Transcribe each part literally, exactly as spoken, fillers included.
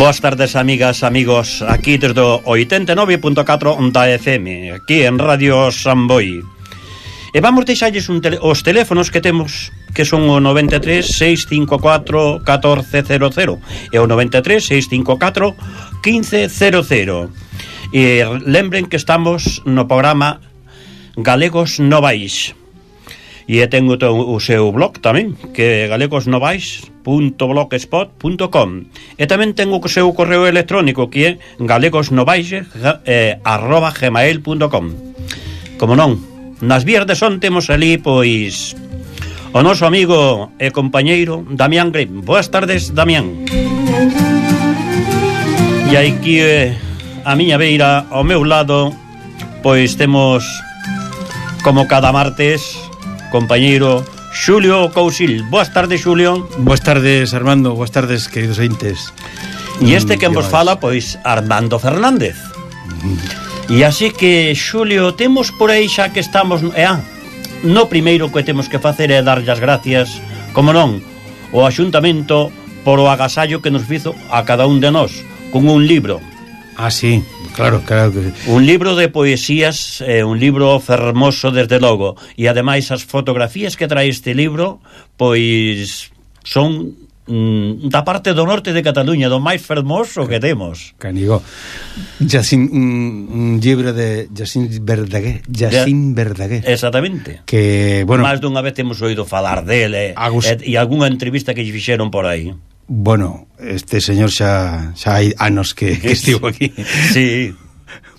Boas tardes, amigas, amigos, aquí desde o oitenta e nove punto catro da F M, aquí en Radio Samboy. E vamos deixalles un tele, os teléfonos que temos, que son o noventa e tres, seis cinco catro, catorce cero cero e o noventa e tres, seis cinco catro, quince cero cero. E lembren que estamos no programa Galegos Novais. E ten o, o seu blog tamén, que é galegosnovais punto blogspot punto com. E tamén ten o seu correo electrónico, que é galegosnovais eh, arroba gmail punto com. Como non, nas vías de son temos ali, pois, o noso amigo e compañeiro Damián Grip. Boas tardes, Damián. E aquí eh, a miña beira, ao meu lado, pois temos, como cada martes, compañeiro Xulio Cousil. Boas tardes, Xulio. Boas tardes, Armando. Boas tardes, queridos ointes. E este que vos fala, pois, Armando Fernández. Mm. E así que, Xulio, temos por aí xa que estamos... Eh, ah, no primeiro que temos que facer é darlle as gracias, como non, o Axuntamento por o agasallo que nos fizo a cada un de nós, con un libro. Ah, sí, claro, claro que... Un libro de poesías, eh, un libro fermoso, desde logo. E ademais as fotografías que trae este libro, pois son mm, da parte do norte de Cataluña, do máis fermoso que temos. Canigo, Jacín, un, un libro de Jacín Verdaguer, Jacín Verdaguer. Exactamente. Que, bueno... Máis dunha vez temos oído falar dele, Agus... e, e algunha entrevista que lle fixeron por aí. Bueno, este señor xa, xa hai anos que, que estivo aquí. Sí.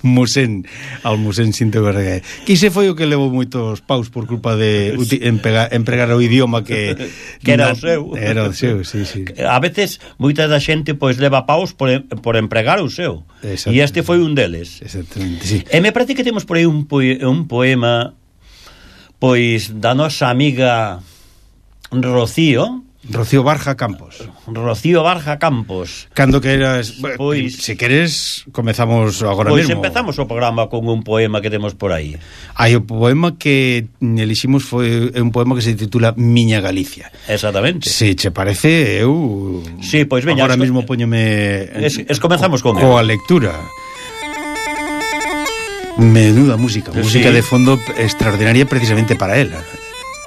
Musén, al Musén Cinto Verdaguer. Que se foi o que levou moitos paus por culpa de uti, empregar, empregar o idioma que... que era o seu. Era o seu, sí, sí. A veces, moita da xente, pois, leva paus por, por empregar o seu. E este foi un deles. Exactamente, sí. E me parece que temos por aí un, poe, un poema, pois, da nosa amiga Rocío... Rocío Barja Campos. Rocío Barja Campos. Cando queras, pois, se queres, comezamos agora pois mesmo. Pois empezamos o programa con un poema que temos por aí. Hai o poema que eliximos foi un poema que se titula Miña Galicia. Exactamente. Se che parece, eu sí, pois veña, agora es, mesmo póñome es, es comezamos con coa lectura. Menuda música, sí. Música de fondo extraordinaria precisamente para ela.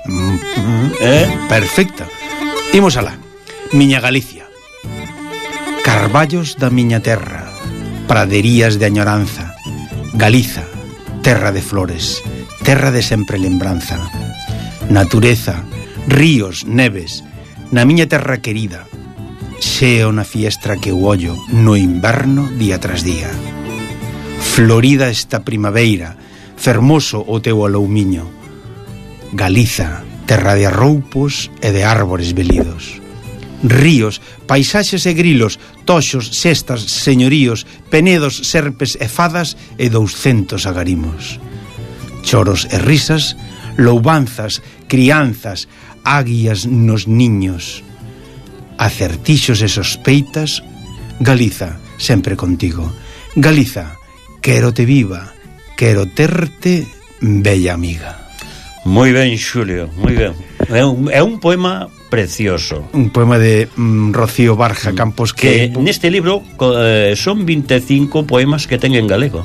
Mm, eh? Perfecta. Imos alá. Miña Galicia. Carballos da miña terra, praderías de añoranza, Galiza, terra de flores, terra de sempre lembranza, natureza, ríos, neves, na miña terra querida, xeo na fiestra que o ollo no inverno día tras día. Florida esta primaveira, fermoso o teu aloumiño, Galiza, terra de arroupos e de árbores velidos. Ríos, paisaxes e grilos, toxos, sestas, señoríos, penedos, serpes e fadas e douscentos agarimos. Choros e risas, loubanzas, crianzas, águias nos niños. Acertixos e sospeitas, Galiza, sempre contigo. Galiza, quero te viva, quero terte, bella amiga. Moi ben, Xulio, moi ben. É un, é un poema precioso. Un poema de mm, Rocío Barja Campos que... que neste libro eh, son vinte e cinco poemas que ten en galego.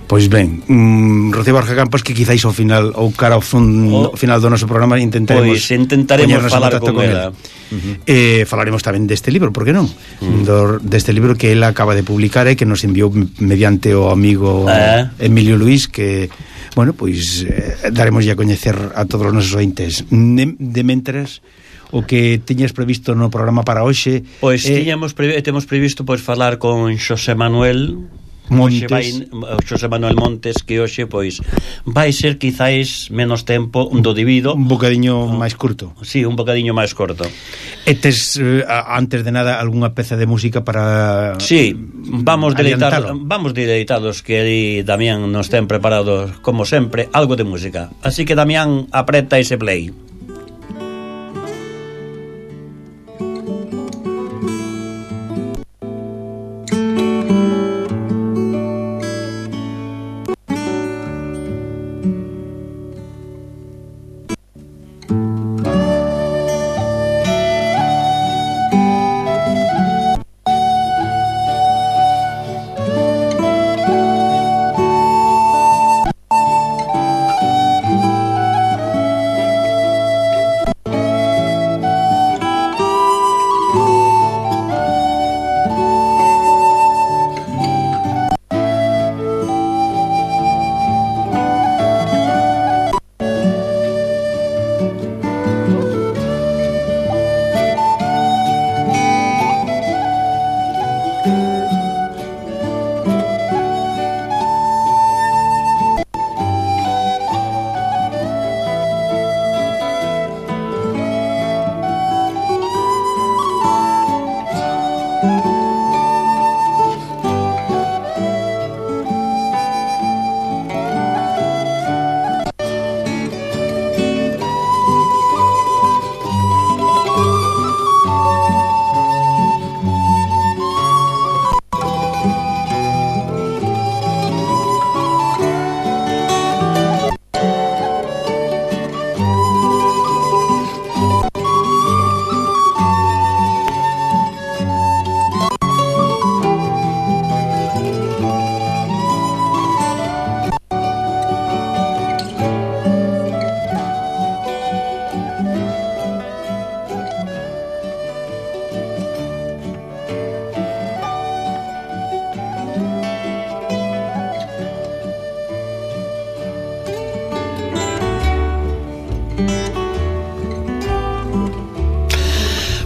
Pois ben, mm, Rocío Barja Campos que quizáis ao final ou cara ao, fun, o, ao final do noso programa intentaremos pois intentaremos falar con, con ela. Uh-huh. Eh, falaremos tamén deste libro, por que non? Uh-huh. Do, deste libro que ela acaba de publicar e que nos enviou mediante o amigo uh-huh. Emilio Luís, que bueno, pois eh, daremos a coñecer a todos os nosos ointes. De, de mentras, o que tiñas previsto no programa para hoxe... Pois eh, tiñamos previ- temos previsto pois falar con Xosé Manuel Montes. Hoxe vai o Xosé Manuel Montes, que hoxe pois vai ser quizáis menos tempo do debido, un bocadiño oh. máis curto. Sí, un bocadiño máis corto. E tes, eh, antes de nada, algunha peza de música para... Sí, vamos deleitar, vamos deleitados, que aí Damián nos ten preparados, como sempre, algo de música. Así que Damián, apreta ese play.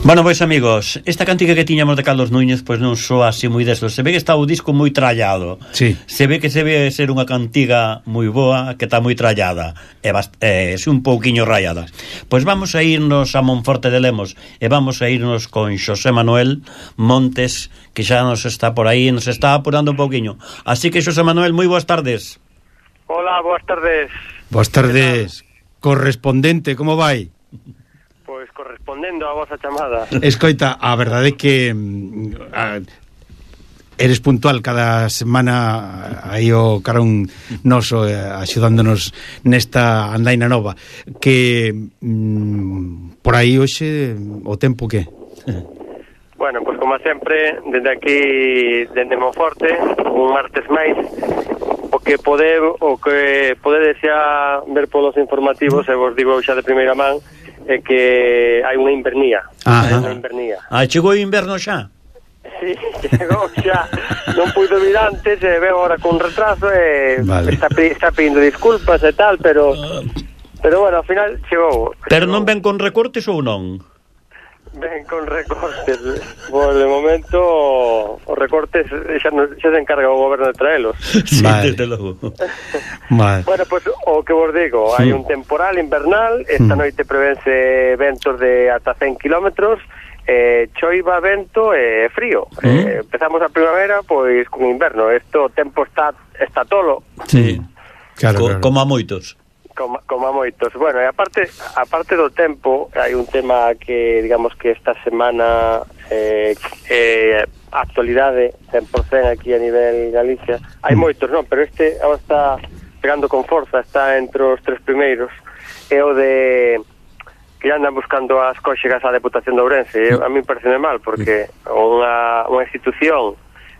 Bueno, pois amigos, esta cantiga que tiñamos de Carlos Núñez pois non soa así moi desto. Se ve que está o disco moi trallado. Sí. Se ve que se ve ser unha cantiga moi boa, que está moi trallada e eh, un pouquiño rayada. Pois vamos a irnos a Monforte de Lemos e vamos a irnos con Xosé Manuel Montes, que xa nos está por aí, nos está apurando un pouquiño. Así que Xosé Manuel, moi boas tardes. Hola, boas tardes. Boas tardes. Correspondente, como vai? Pois correspondendo a vosa chamada. Escoita, a verdade é que a, eres puntual cada semana aí o carón noso eh, axudándonos nesta andaina nova. Que mm, por aí hoxe o tempo que? Bueno, pois como sempre, dende aquí, dende Monforte, un martes máis, o que pode, o que podedes xa ver polos informativos, e vos digo xa de primeira man, é que hai unha invernía. Hai unha invernía. Ah, chegou o inverno xa? Sí, chegou xa. Non puido vir antes, e veo ahora con retraso, e vale. está, está pedindo disculpas e tal, pero pero bueno, ao final chegou. Pero chegou. non ven con recortes ou non? Ven con recortes. Por de momento os recortes xa, no, xa se encarga o goberno de traelos. Sí, vale. desde logo. Vale. Bueno, pois pues, o que vos digo, hai un temporal invernal. Esta noite prevense ventos de ata cen kilómetros, eh, choiva, vento e eh, frío. Mm. eh, Empezamos a primavera pois con inverno. Isto o tempo está está tolo. Sí, claro, Co, claro. como a moitos. Como, como a moitos. Bueno, e aparte, aparte do tempo, hai un tema que, digamos que esta semana eh, eh, actualidade cen por cento aquí a nivel Galicia. Hai moitos, non, pero este agora está pegando con forza, está entre os tres primeiros. É o de que andan buscando as cóxegas á Deputación de Ourense. E a mí parece mal, porque unha, unha institución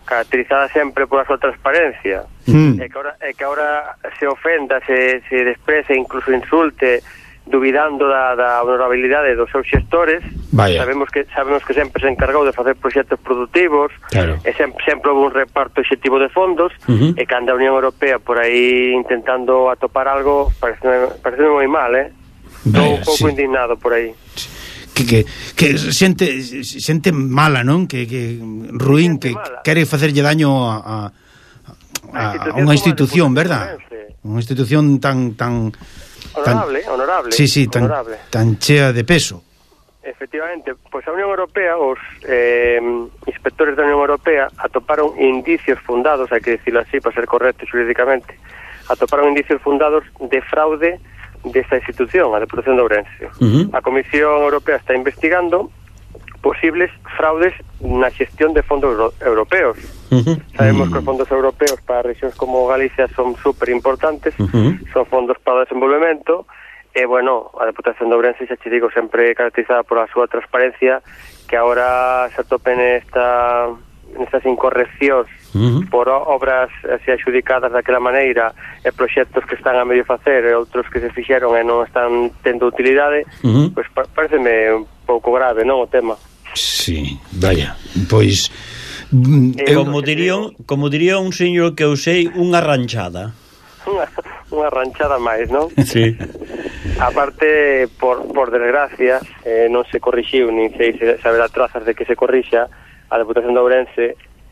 caracterizada sempre pola súa transparencia, mm. e que ahora, e que ahora se ofenda, se, se desprece, incluso insulte, duvidando da, da honorabilidade dos seus xestores. Vaya. Sabemos que sabemos que sempre se encargou de facer proxectos productivos, claro. E sempre, sempre houve un reparto exectivo de fondos, uh-huh. E que anda a Unión Europea por aí intentando atopar algo, parece, parece moi mal, eh? Estou un pouco sí. indignado por aí. Que, que, que xente, xente mala, non? Que, que ruín, que mala. Quere facerlle daño a, a, a, a unha institución, verdad? Unha institución tan tan honorable, tan, honorable. Sí, sí, tan, honorable. tan chea de peso. Efectivamente, pois a Unión Europea, os eh, inspectores da Unión Europea atoparon indicios fundados, hai que dicilo así para ser correcto xurídicamente, atoparon indicios fundados de fraude desta institución, a Deputación de Ourense. Uh-huh. A Comisión Europea está investigando posibles fraudes na xestión de fondos euro- europeos. Uh-huh. Sabemos uh-huh. que os fondos europeos para rexións como Galicia son super importantes, uh-huh. son fondos para o desenvolvemento. E, bueno, a Deputación de Ourense, xa te digo, sempre caracterizada por a súa transparencia, que agora se atopen esta, nestas incorreccións uh-huh. por obras así adjudicadas daquela maneira e proxectos que están a medio facer e outros que se fixeron e non están tendo utilidade, uh-huh. pois pa- pareceme un pouco grave, non, o tema. Sí, vaya, pois... E como diría, como diría un señor que eu sei, unha ranchada. Unha, unha ranchada máis, non? Sí. Aparte, por, por desgracia, eh, non se corrixiu, nin sei se saberá trazas de que se corrixa a Deputación de Ourense,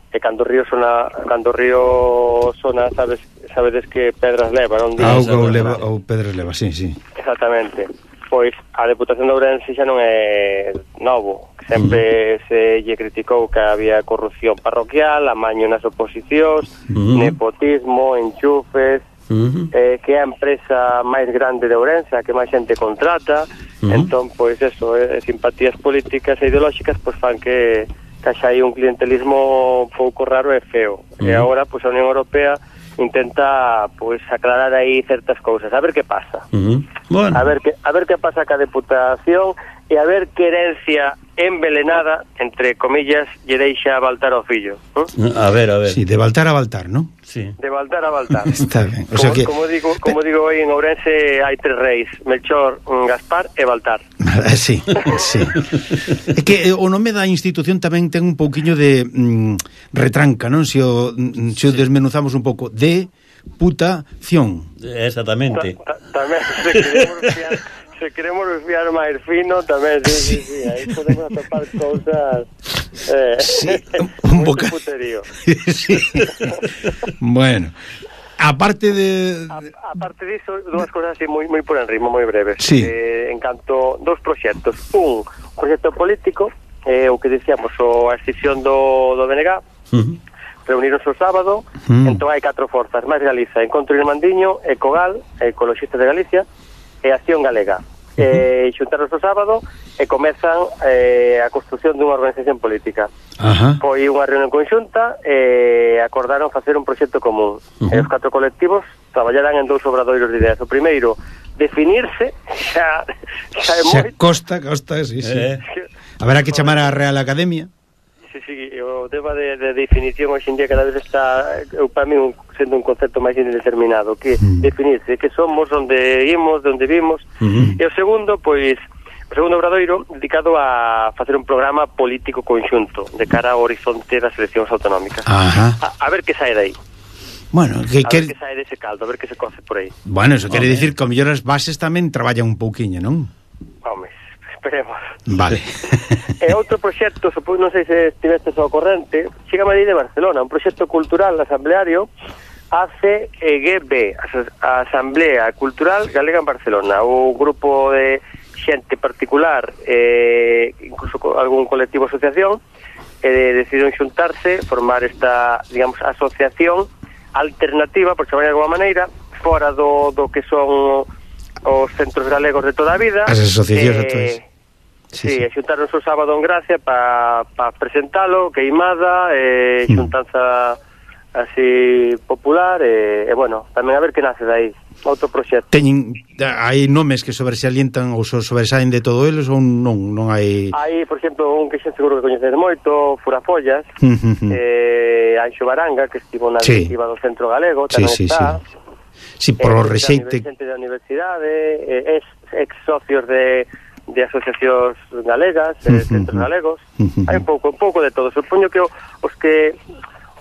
e cando o río sona, cando o río sona, sabes, sabedes que pedras leva, non? Auga ou leva, ou pedras leva, sí, sí. Exactamente. Pois a Deputación de Ourense xa non é novo, sempre uh-huh. se lle criticou que había corrupción parroquial, amaño nas oposicións, uh-huh. nepotismo, enchufes, uh-huh. eh, que é a empresa máis grande de Ourense, a que máis xente contrata, uh-huh. entón, pois, eso, eh, simpatías políticas e ideolóxicas, pois, fan que, que xa hai un clientelismo pouco raro e feo. Uh-huh. E agora, pois, a Unión Europea intenta, pois, aclarar aí certas cousas, a ver que pasa. Uh-huh. Bueno. A ver que a ver que pasa ca Deputación e a ver que herencia envelenada, entre comillas, lle deixa Baltar ao fillo. ¿eh? A ver, a ver. Sí, de Baltar a Baltar, ¿no? Sí. De Baltar a Baltar. Está ben. O como, sea que... como digo, como digo hoy en Ourense hai tres reis, Melchor, Gaspar e Baltar. Sí, sí. É que o nome da institución tamén ten un pouquiño de mm, retranca, non? Se o, se o desmenuzamos un pouco, de putación. Exactamente. Ta, ta, tamén se queremos fiar, se queremos fiar máis fino, tamén, sí, sí, sí, aí podemos atopar cousas eh, sí, un boca... puterío. Sí. Bueno, aparte de... A, aparte diso, dúas cousas así moi moi por enrimo, moi breves. Sí. Eh, en canto dous proxectos. Un, proxecto político, eh, o que dicíamos, o a escisión do, do B N G, uh-huh. reunironse o sábado, uh-huh. entón hai catro forzas, máis Galiza, Encontro Irmandiño, Ecogal, Ecologistas de Galicia, e Acción Galega. Uh-huh. Eh, xuntaron o sábado e comezan eh, a construción dunha organización política. Uh-huh. Foi unha reunión conxunta e acordaron facer un proxecto común. Uh-huh. E os catro colectivos traballarán en dous obradoiros de ideas. O primeiro, definirse, xa, xa é moi... Xa costa, costa, sí, sí. Eh. Haberá que chamar a Real Academia. Sí, sí, o tema de, de definición hoxe en día cada vez está, eu para mí, un, sendo un concepto máis indeterminado, que mm. definirse, que somos, onde imos, de onde vimos. Mm-hmm. E o segundo, pois, o segundo obradoiro dedicado a facer un programa político conxunto de cara ao horizonte das eleccións autonómicas. Ajá. A, a ver que sae dai. Bueno, que, a que... ver que sae dese caldo, a ver que se coce por aí. Bueno, eso quere dicir que ao mellor as bases tamén traballan un pouquiño, non? Home, esperemos. Vale. E outro proxecto, supón, non sei se estivestes ao corrente, chega a Madrid de Barcelona, un proxecto cultural asambleario, A C G B, a Asamblea Cultural Galega en Barcelona, un grupo de xente particular, eh, incluso algún colectivo asociación, eh, decidiron xuntarse, formar esta, digamos, asociación alternativa, por chamar de alguma maneira, fora do, do que son os centros galegos de toda a vida. As asociacións eh, actuais. Sí, sí, sí. Xuntaronse o sábado en Gracia para pa presentalo, queimada, eh, xuntanza así popular, e, e bueno, tamén a ver que nace dai, outro proxecto. Teñen, hai nomes que sobresalientan ou sobresalen de todo eles ou non, non hai... Hai, por exemplo, un que xa seguro que coñecedes moito, Furafollas, eh, Anxo Baranga, que estivo na sí. directiva do Centro Galego, tamén sí, sí, está... Sí. Sí, por eh, o rexeite... Xente da universidade, eh, ex, ex socios de... de asociacións galegas, uh-huh, centros galegos, uh-huh. hai un pouco, un pouco de todo. Supoño que o, os que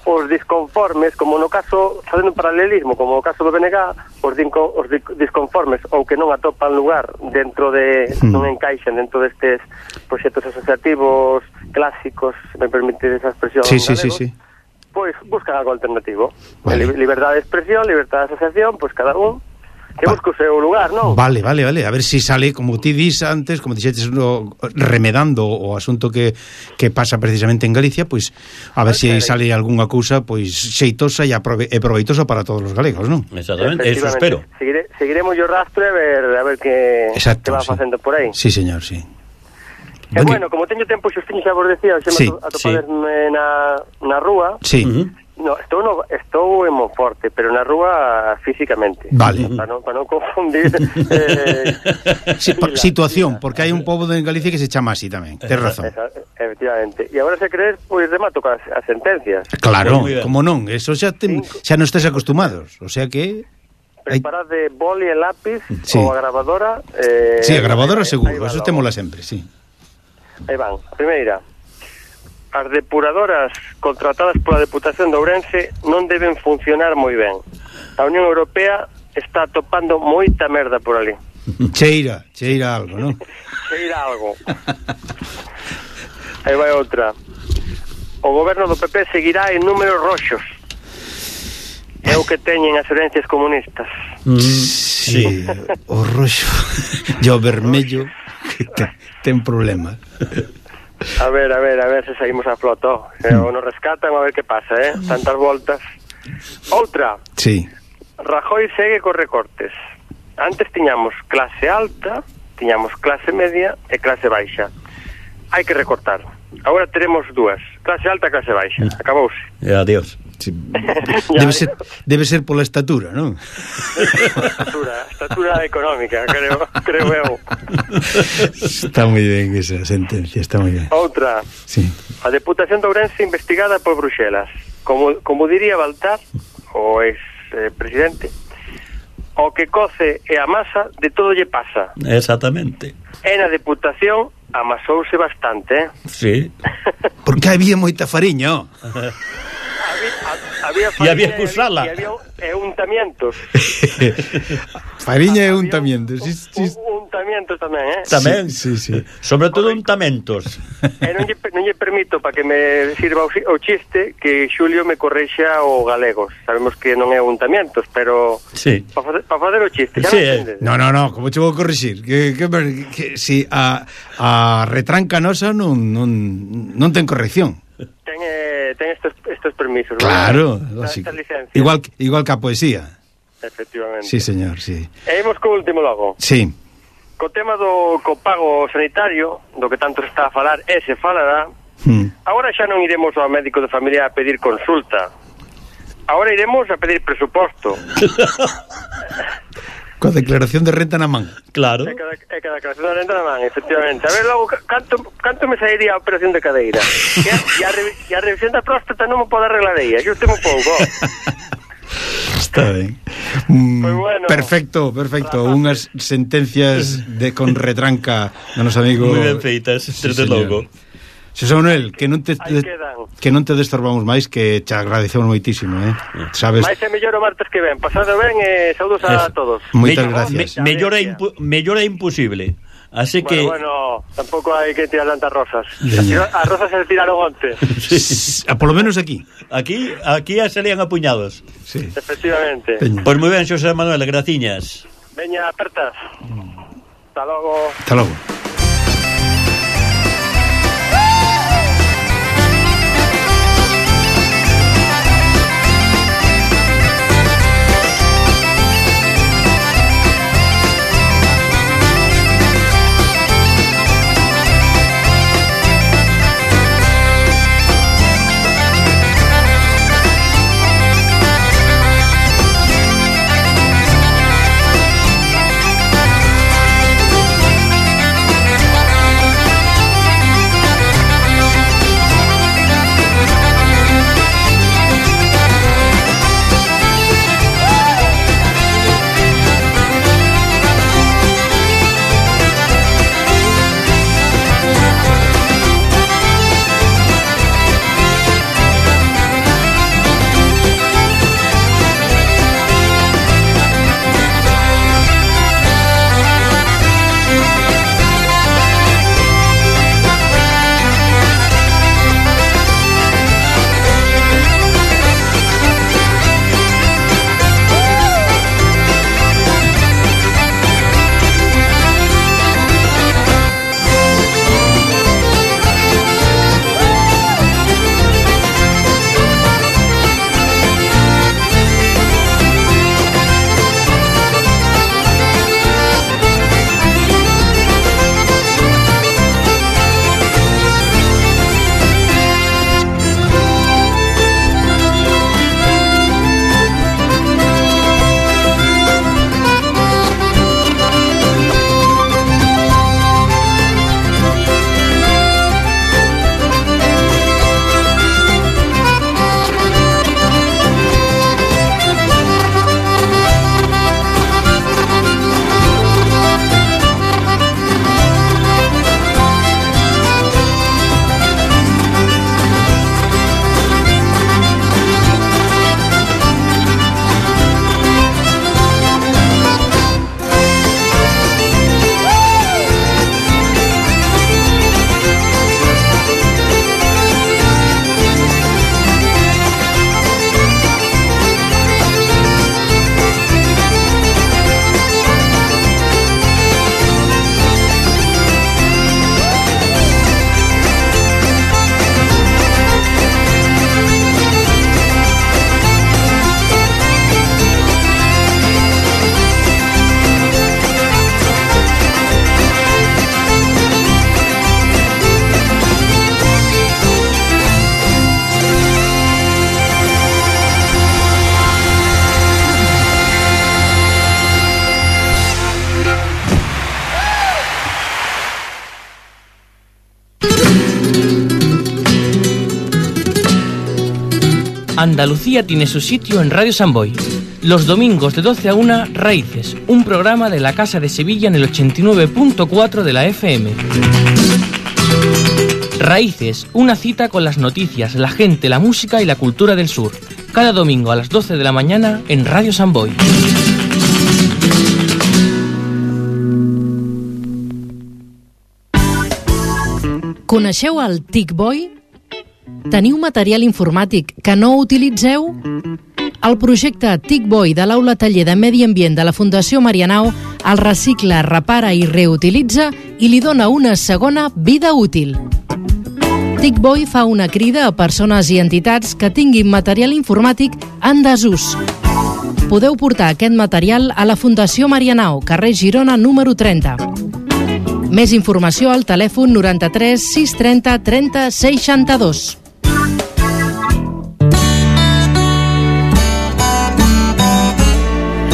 os disconformes, como no caso, facendo un paralelismo, como no caso do B N G, os, dinco, os disconformes ou que non atopan lugar dentro de, uh-huh. non encaixan dentro destes proxectos asociativos clásicos, se me permite esa expresión, sí, sí, galegos, sí, sí. pois buscan algo alternativo. Vale. Liberdade de expresión, liberdade de asociación, pois cada un que Va. busca o seu lugar, non? Vale, vale, vale. A ver se si sale, como ti dis antes, como dixetes, no, remedando o asunto que, que pasa precisamente en Galicia, pois a ver se si sale algunha cousa pois xeitosa e, aprove e proveitosa para todos os galegos, non? Exactamente, eso espero. Seguire, seguiremos o rastro e ver, a ver que, Exacto, que va sí. facendo por aí. Sí, señor, sí. E bueno, como teño tempo xustiño, xa vos decía, xa Sí, me atopaderme sí. na, na rúa. Sí. Uh-huh. No, estou, no, estou en Monforte, pero na rúa físicamente. Vale. Para non, para non confundir eh, Sí, por, fila, situación, fila. porque hai un pobo en Galicia que se chama así tamén. Tes razón. Esa, efectivamente. E agora se crees, pois remato con as, as sentencias. Claro, Pues como non, eso xa te, xa non estés acostumados, o sea que hai... Preparad de boli e lápiz Sí. ou a grabadora. Eh, Sí, a grabadora aí- seguro, aí va eso logo. témola sempre, sí. Aí van. A primeira. As depuradoras contratadas pola Deputación de Ourense non deben funcionar moi ben. A Unión Europea está topando moita merda por ali. Cheira, cheira algo, non? Cheira algo. Aí vai outra. O goberno do P P seguirá en números roxos. É o que teñen as herencias comunistas. Mm, Sí, o roxo e o vermello que ten problemas. A ver, a ver, a ver se saímos a floto. Se o nos rescatan, a ver que pasa, eh? Tantas voltas. Outra. Sí. Rajoy segue cos recortes. Antes tiñamos clase alta, tiñamos clase media e clase baixa. Hai que recortar. Agora teremos dúas. Clase alta e clase baixa. Acabouse. E adiós. Sí. Debe ser debe ser pola estatura, non? Estatura, estatura económica, creo, creo eu. Está moi ben esa sentencia, está moi ben. Outra. Sí. A Deputación de Ourense investigada por Bruxelas. Como, como diría Baltar, o ex eh, presidente, o que coce e amasa de todo lle pasa. Exactamente. E na Deputación amasouse bastante, eh? Sí. Porque había moita fariña, ó. Había, había E había que farina usala. E había e untamientos. Fariña e Había untamientos. Sí, sí. un- Untamientos tamén, eh? Tamén. Sí, sí, sí. Sobre todo untamentos. E non lle, non lle permito para que me sirva o, o chiste que Xulio me correxa o galegos. Sabemos que non é untamientos, pero Sí. para facer, pa facer o chiste, xa Sí, non eh. entendes? No, no, no, como che vou corrixir? Que, que, que si a, a retranca nosa non, non, non ten corrección. Ten, eh, ten estos, estos permisos. Claro, ¿no? lógico. Esta licencia. Igual, igual que a poesía. Efectivamente. Sí, señor, sí. E imos co último logo. Sí. Co tema do copago sanitario, do que tanto se está a falar e se falará, Hmm. agora xa non iremos ao médico de familia a pedir consulta. Agora iremos a pedir presuposto. Coa declaración de renta na man. Claro. É cada, é cada declaración de renta na man, efectivamente. A ver, logo, ca- canto, canto me sairía a operación de cadeira? E a, e a, revi- e a revisión da próstata non me pode arreglar ella, yo temo pouco. Está ben. Mm, Pues bueno. perfecto, perfecto. Unhas sentencias de con retranca do noso amigo. Moi ben feitas, Sí, desde señor. logo. Xosé Manuel, que non te Aí quedan. que non te destorbamos máis, que te agradecemos moitísimo, eh. Sabes? Mais é mellor o martes que ven. Pasado ben e saúdos a Eso. todos. Moitas Me- gracias. me- mellor, é impu mellor é imposible. Así que Bueno, bueno, tampouco hai que tirar tantas rosas. Veña. As rosas se tiraron onte. Sí. A, polo menos aquí. aquí aquí ya salían apuñados. Sí. Efectivamente. Veña. Pois moi ben, Xosé Manuel, graciñas. Veña, apertas. Hasta logo. Hasta logo. Andalucía tiene su sitio en Radio Samboy. Los domingos de doce a una, Raíces, un programa de la Casa de Sevilla en el ochenta y nueve punto cuatro de la F M. Raíces, una cita con las noticias, la gente, la música y la cultura del sur. Cada domingo a las doce de la mañana en Radio Samboy. Coneixeu el TicBoy? Teniu material informàtic que no utilitzeu? El projecte TicBoy de l'Aula Taller de Medi Ambient de la Fundació Marianao el recicla, repara i reutilitza i li dona una segona vida útil. TicBoy fa una crida a persones i entitats que tinguin material informàtic en desús. Podeu portar aquest material a la Fundació Marianao, carrer Girona número trenta. Més informació al telèfon noranta-tres sis trenta trenta seixanta-dos.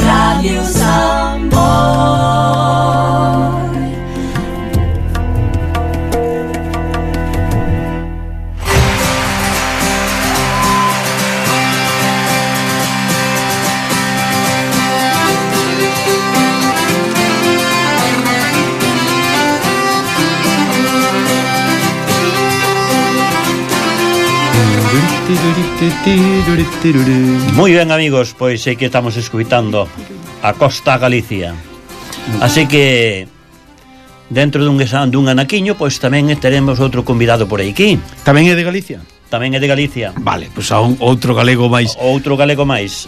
Ràdio Samboy. Moi ben, amigos, pois sei que estamos escuitando a Costa Galicia. Así que dentro dun, dun anaquiño, pois tamén teremos outro convidado por aquí. Tamén é de Galicia? Tamén é de Galicia. Vale, pois a un, outro galego máis. Outro galego máis.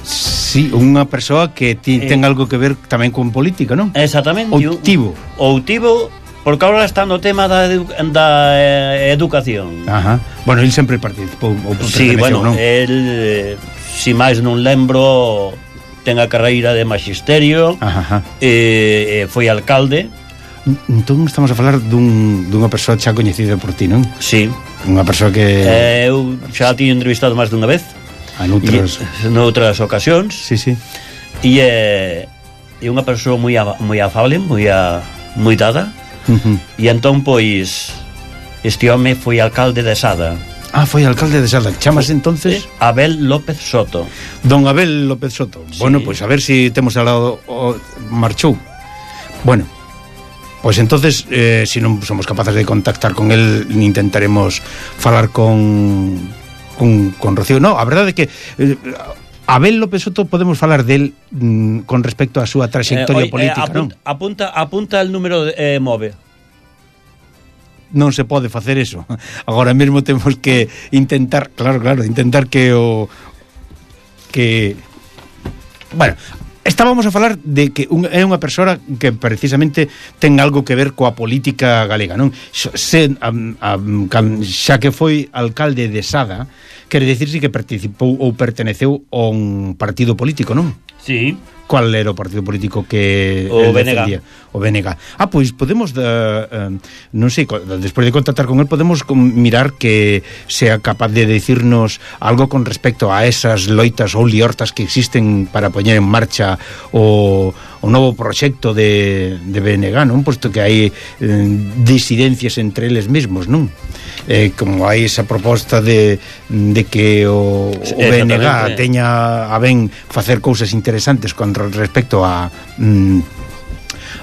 Sí, unha persoa que ti, eh, ten algo que ver tamén con política, non? Exactamente. Outivo. Outivo, porque agora está no tema da, edu da eh, educación. Ajá. Bueno, el sempre participou ou sí, bueno, non? El, si máis non lembro, ten a carreira de magisterio. Ajá. E eh, foi alcalde. Entón estamos a falar dun, dunha persoa xa coñecida por ti, non? Sí. Unha persoa que... Eh, eu xa a ti entrevistado máis dunha vez. En outras... noutras ocasións. Sí, sí. E é eh, unha persoa moi, moi afable, moi, a, moi dada. Uh-huh. E entón, pois, este home foi alcalde de Sada. Ah, foi alcalde de Sada. Chamas entonces? Abel López Soto. Don Abel López Soto. Sí. Bueno, pois a ver si temos al lado o marchou. Bueno, pois entonces, eh, si non somos capaces de contactar con el, intentaremos falar con con, con Rocío. No, a verdade é que eh, Abel López Soto podemos falar del mm, con respecto á súa trayectoria eh, oi, política, eh, apunta, non? Apunta, apunta el número de, eh, move. Non se pode facer eso. Agora mesmo temos que intentar, claro, claro, intentar que o que bueno, estábamos a falar de que un, é unha persoa que precisamente ten algo que ver coa política galega, non? Se, um, um, xa que foi alcalde de Sada, quere dicirse que participou ou perteneceu a un partido político, non? Sí. Cual era o partido político que o B N G? O B N G. Ah, pois podemos uh, uh, non sei, despois de contactar con él podemos mirar que sea capaz de decirnos algo con respecto a esas loitas ou liortas que existen para poñer en marcha o, o novo proxecto de, de B N G, non? Posto que hai eh, disidencias entre eles mesmos, non? Eh, como hai esa proposta de, de que o, o B N G teña a ben facer cousas interesantes con respecto a mm,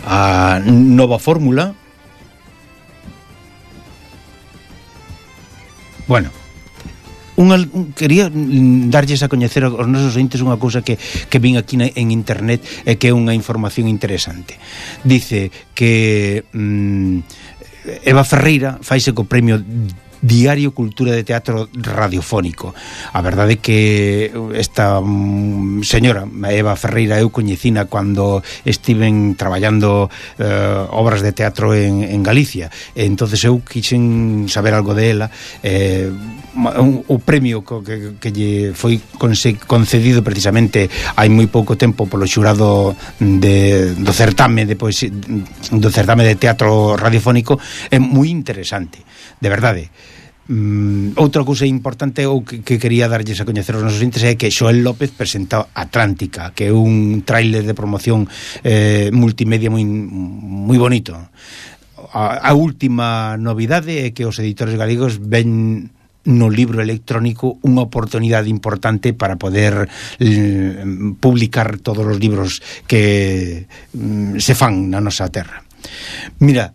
a nova fórmula. Bueno, unha, un, quería darlles a coñecer aos nosos ointes unha cousa que, que vin aquí na, en internet e que é unha información interesante. Dice que mm, Eva Ferreira faise co premio Diario Cultura de Teatro Radiofónico. A verdade é que esta um, señora Eva Ferreira eu coñecina cando estiven traballando uh, obras de teatro en, en Galicia. E entonces eu quixen saber algo de ela. Eh, un, o premio que, que lle foi concedido precisamente hai moi pouco tempo polo xurado de, do certame de poesía, do certame de teatro radiofónico é moi interesante, de verdade. Mm, outra cousa importante ou que, que quería darlles a coñecer aos nosos entes é que Xoel López presenta Atlántica, que é un tráiler de promoción eh, multimedia moi, moi bonito. A, a última novidade é que os editores galegos ven no libro electrónico unha oportunidade importante para poder eh, publicar todos os libros que mm, se fan na nosa terra. Mira,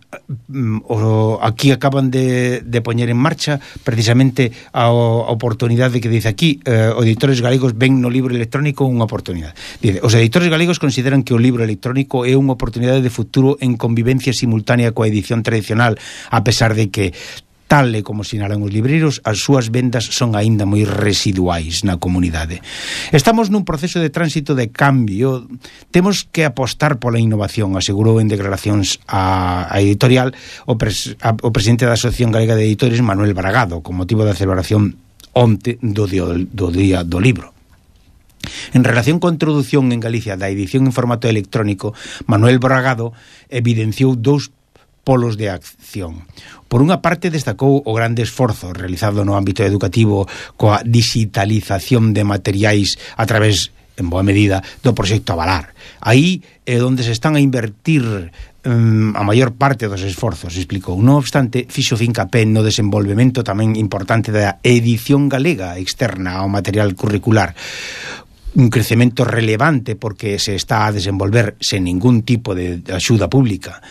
o, aquí acaban de, de poñer en marcha precisamente a, a oportunidade que dice aquí, eh, os editores galegos ven no libro electrónico unha oportunidade. Dice, os editores galegos consideran que o libro electrónico é unha oportunidade de futuro en convivencia simultánea coa edición tradicional, a pesar de que, tal e como sinalan os libreiros, as súas vendas son aínda moi residuais na comunidade. Estamos nun proceso de tránsito de cambio, temos que apostar pola innovación, asegurou en declaracións a, a editorial o, pres, a, o presidente da Asociación Galega de Editores, Manuel Bragado, con motivo da celebración onte do Día do, día do Libro. En relación coa introdución en Galicia da edición en formato electrónico, Manuel Bragado evidenciou dous polos de acción. Por unha parte, destacou o grande esforzo realizado no ámbito educativo coa digitalización de materiais a través, en boa medida, do proxecto Avalar. Aí é onde se están a invertir um, a maior parte dos esforzos, explicou. Non obstante, fixo fincapé no desenvolvemento tamén importante da edición galega externa ao material curricular, un crecemento relevante porque se está a desenvolver sen ningún tipo de axuda pública.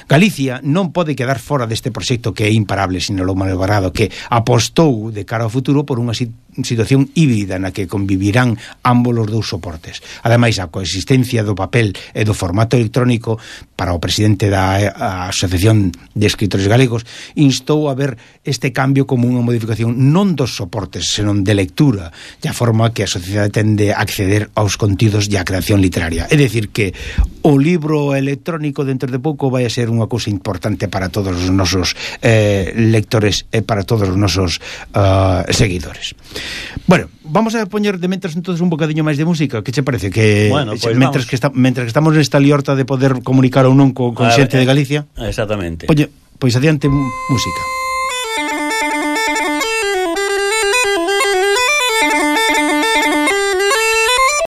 Galicia non pode quedar fora deste proxecto que é imparable, sinalou Manuel Bragado, que apostou de cara ao futuro por unha situación híbrida na que convivirán ambos os dous soportes. Ademais, a coexistencia do papel e do formato electrónico, para o presidente da Asociación de Escritores Galegos, instou a ver este cambio como unha modificación non dos soportes, senón de lectura, de a forma que a sociedade tende a acceder aos contidos e a creación literaria. É dicir que o libro electrónico dentro de pouco vai a ser unha cousa importante para todos os nosos eh, lectores e para todos os nosos uh, seguidores. Bueno, vamos a poñer de mentras entonces un bocadiño máis de música. Que che parece? Que bueno, pues mentras, que está, mentras que estamos nesta liorta de poder comunicar ou non co, con a xente ver, de Galicia. Exactamente. Oye, pois adiante música.